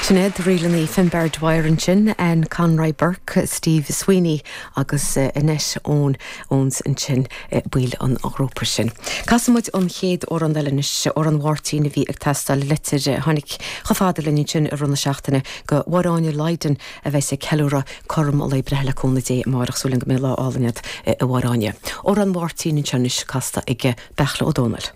Sinéad, Ríleanna Finbar Dwyer ansin, Anne Conroy Burke, Steve Sweeney agus Annette Owen Owens ansin, baill an ghrúpa sin. Casfaidh muid an chéad amhrán eile anois, amhrán Mháirtín a bhí ag teastáil, leitir a tháinig chomh fada linn ansin i rith na seachtaine go Mháire Áine Lydon a bheas ag ceiliúradh cothrom a lae breithe le cúnamh Dé amárach, súil agam go mbeidh lá álainn agat a Mháire Áine. Amhrán Mháirtín anseo anois casta ag Beartla Ó Domhnaill.